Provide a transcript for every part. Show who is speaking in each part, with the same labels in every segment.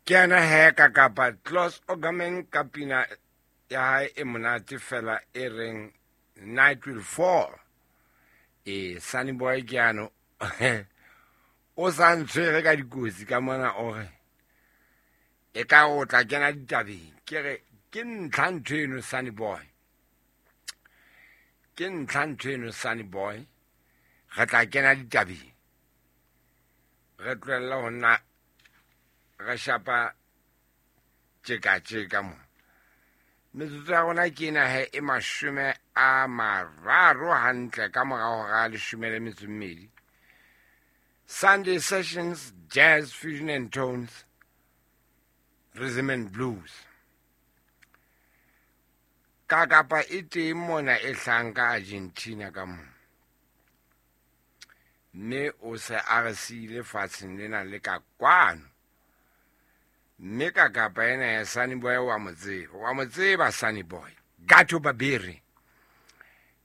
Speaker 1: Ke yena he ka kapa Klaus Ogerman ka pina ya hae e monate fela e reng Night Will Fall. E Sunny Boy ke ano o sa ntshwere ka dikotsi ka mona o re e ka o tla kena ditabeng. Ke re ke ntlha ntho eno Sunny Boy. Ke ntlha ntho eno Sunny Boy. Re tla kena ditabeng. Re tlohella ho nna re shapa tjeka-tjeka mo. Metsotso ya rona ke ena he e 30 hantle ka mora hora 12. Sunday Sessions, Jazz, Fusion and Tones, Rhythm and Blues. Ka kapa e teng mona e hlahang ka Argentina ka mona. Mme o se a re siile fatsheng lena le ka kwano. Mme ka kapa ena ya Sunny Boy wa mo tseba. Wa mo tseba Sunny Boy. Gato Barbieri.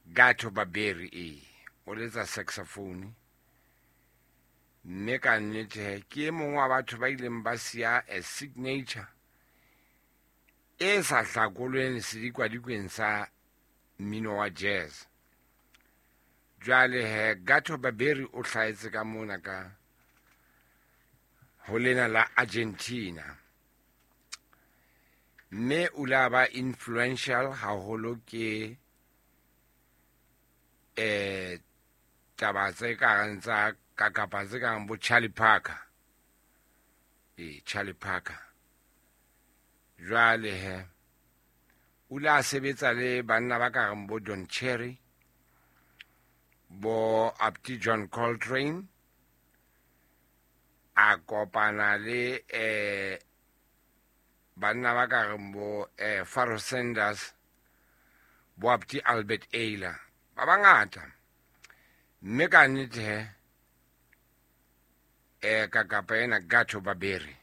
Speaker 1: Gato Barbieri e. O letsa saxophone. Mme ka nnete he, ke e mong wa batho ba ileng ba siya a signature e sa hlakolweng sedikwadikwen sa mmino wa jazz. Jwale he, Gato Barbieri o hlahetse ka mona ka ho lena la Argentina. Mme o la ba influential haholo ke taba tse kareng tsa ka kapa tse kareng bo Charlie Parker. Charlie Parker. Jwale he, o la sebetsa le banna ba kareng bo Don Cherry, bo Abti John Coltrane, a kopana le banna ba kareng bo Pharoah Sanders, bo Abti Albert Ayler, ba bangata. Mme ka nnete he, ka kapa ena Gato Barbieri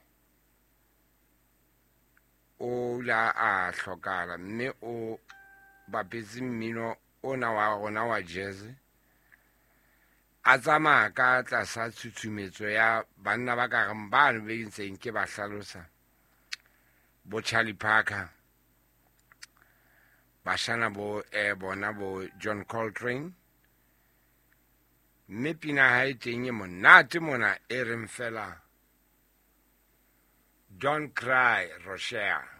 Speaker 1: o la a hlokala, mme o bapetse mmino ona wa rona wa jazz. A tsamaya ka tlasa tshutshumetso ya banna ba ka reng bano be ntseng ke ba hlalosa, bo Charlie Parker, bashana bo bona bo John Coltrane. Mme pina ha e teng e monate mona e reng fela Don't Cry Rochelle.